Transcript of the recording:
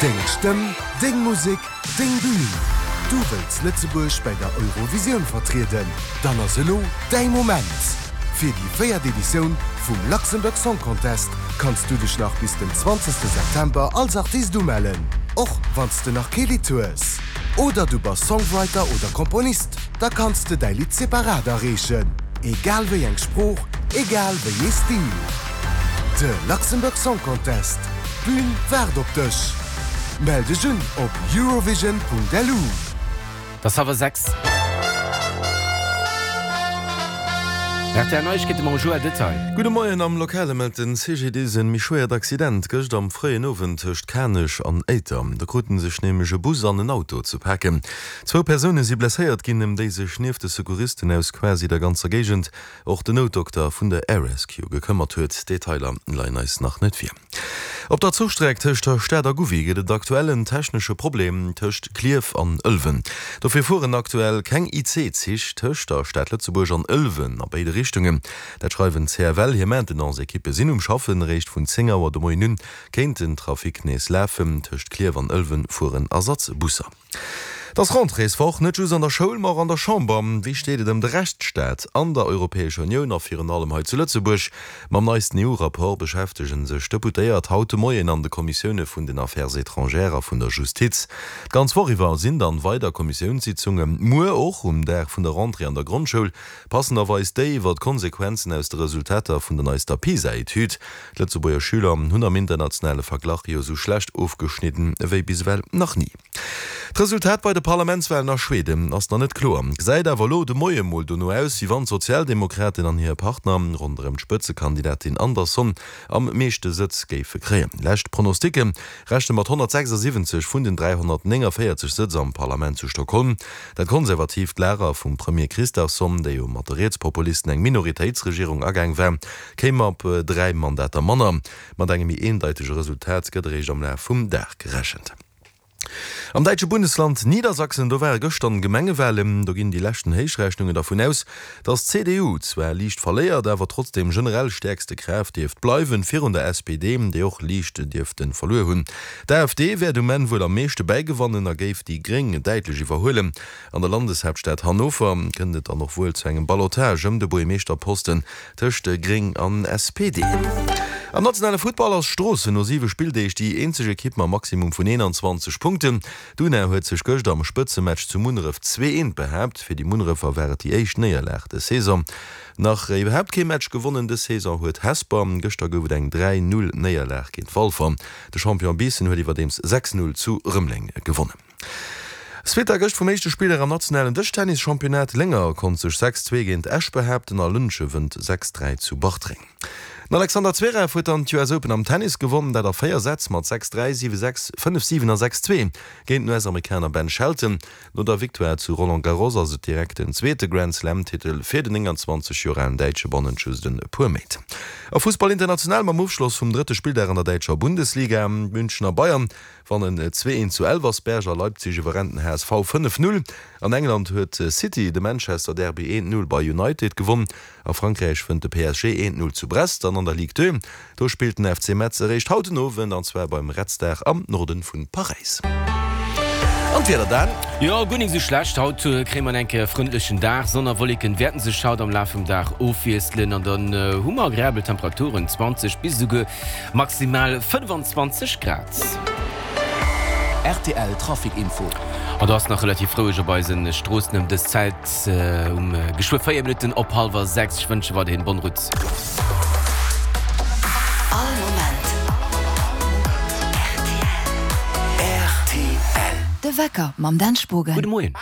Deng Stëmm, deng Musek, deng Bühn. Du wëlls Lëtzebuerg bäi der Eurovisioun vertrieden? Dann ass elo däi Moment! Fir déi véiert Editioun vum Luxembourg Song Contest kanns du dech nach bis den 20 September als Artist umellen, och wann s de nach kee Lidd hues. Oder du bass Songwriter oder Komponist, da kanns de däi Lidd separat areechen, egal wéi eng Sprooch, egal wéi ee Stil. De Luxembourg Song Contest, d'Bün waart op dech! Mell dech un op eurovision.lu. Et ass hallwer 6. Rtl Neiegkeete mam Joël Detail. Gudde Moien, Am Lokale mellt den CGDIS en méi schwéiert Accident gëscht am fréien Owend tëscht Kanech an Éiter. Do kruten sech nämlech e Bus an en Auto ze paken. Zwou Persoune si blesséiert ginn, ëm déi sech nieft de Secouristen aus quasi der ganzer Géigend och den Noutdokter vun der Air Rescue gekëmmert huet. Detailer leien eis nach net vir. Op der Zuchstreck tëscht der Stad a Gouvy gëtt et aktuell en technesche Problem tëscht Klierf an Ëlwen. Dofir fueren aktuell keng IC-Zich tëscht der Stad Lëtzebuerg an Ëlwen a béide Richtungen. Dat schreiwen d'CFL. Hir Maintenance-Ekippe sinn um Schaffen. Eréischt vun 10 Auer de Moien un kéint den Trafic nees lafen. Tëscht Klierf an Ëlwen fueren Ersatzbusser. Et ass Rentréeswoch, net just an der Schoul, ma och an der Chamber. Wéi steet et ëm de Rechtsstaat an der Europäescher Unioun a virun allem hei zu Lëtzebuerg? Mam neisten EU-Rapport beschäftege sech d'Deputéiert haut de Moien an de Kommissioune vun den Affaires étrangères a vun der Justiz. D'ganz Woch iwwer sinn dann weider Kommissiounssitzungen. Muer och, um Dag vun der Rentrée an der Grondschoul, passenderweis déi iwwer d'Konsequenzen aus de Resultater vun der neister PISA-Etüd. D'Lëtzebuerger Schüler hunn am internationale Verglach jo esou schlecht ofgeschnidden ewéi bis ewell nach ni. D'Resultat bei de Parlamentswalen a Schweden ass nach net kloer, gesäit awer elo de Moie mol dono aus, wéi wann d'Sozialdemokraten an hir Partner ronderëm d'Spëtzekandidatin Andersson am meeschte Sëtz géife kréien. Lescht Pronosticke rechne mat 176 vun den 349 Sëtz am Parlament zu Stockholm. Dat konservatiivt Lager vum Premier Kristersson, déi jo mat de Rietspopulisten eng Minoritéitsregierung agaang war, kéim op 3 Mandater manner. Mat engem méi eendeitege Resultat gëtt eréischt am Laf vum Dag gerechent. Am däitsche Bundesland Niedersachsen, do ware gëschter Gemengewalen. Do ginn déi leschten Héichrechnungen dervun aus, datt d'CDU zwar liicht verléiert, awer trotzdeem generell stäerkste Kraaft dierft bleiwen, virun der SPD, déi och liicht dierfte verluer hunn. D'AfD wäert um Enn wuel am meeschte bäigewannen a géif déi Gréng däitlech iwwerhuelen. An der Landeshaaptstad Hannover kënnt et dann och wuel zu engem Ballotage ëm de Buergermeeschterposten tëscht Gréng an SPD. Am nationale Futtball ass Stroossen no 7 Spilldeeg déi eenzeg Ekipp mam Maximum vun 21 Punkten. D'Una huet sech gëscht am Spëtzematch zu Munneref 2, 1 behaapt. Fir déi Munnerefer war et déi éischt Néierlag dës Saison. Nach iwwerhaapt kee Match gewonnen dës Saison huet Hesper. Gëschter gouf et eng 3, 0 Néierlag géint Walfer. De Champion Biissen huet iwwerdeems 6, 0 zu Rëmeleng gewonnen. Suite a gëscht vum éischte Spiller am nationalen Dëschtennis-Championnat. Lénger konnt sech 6, 2 géint Esch behaapten a Lëntge wënnt 6, 3 zu Bartreng. Den Alexander Zverev huet dann d'US Open am Tennis gewonnen, dat a 4 Sätz mat 6, 3, 7, 6, 5, 7 a 6, 2 géint den US-Amerikaner Ben Shelton. No der Victoire zu Roland Garros ass et direkt den zweete Grand-Slam-Titel fir den 29 Joer alen Däitsche bannent just e puer Méint. A Fussball international mam Ofschloss vum drëtte Spilldag an der däitscher Bundesliga. D'Münchener Bayern Wannen 2, 1 zu Elversberg a Leipzig iwwerrennt den HSV 5, 0. An England huet City de Manchester Derby 1, 0 bei United gewonn. A Frankräich wënnt de PSG 1, 0 zu Brest an an der Ligue 2 do spillt den FC Metz eréischt haut den Owend an zwar beim Red Star am Norden vun Paräis. An d'Wieder dan? Jo, guer nik sou schlecht. Haut kréie mer enk e frëndlechen Dag. Sonn a Wolleken wäerten sech haut am Laf vum Dag ofwiesselen an dann hu mer agreabel Temperaturen, 20 bis esouguer Maximal 25 Grad. Rtl Trafic Info. An do ass nach relativ roueg op eisen Stroossen ëm dës Zäit um geschwë 4 Minutten op hallwer 6. Ech wënsche weiderhin bonne route. All Moment rtl. De Wecker mam Dan Spogen. Gudde Moien.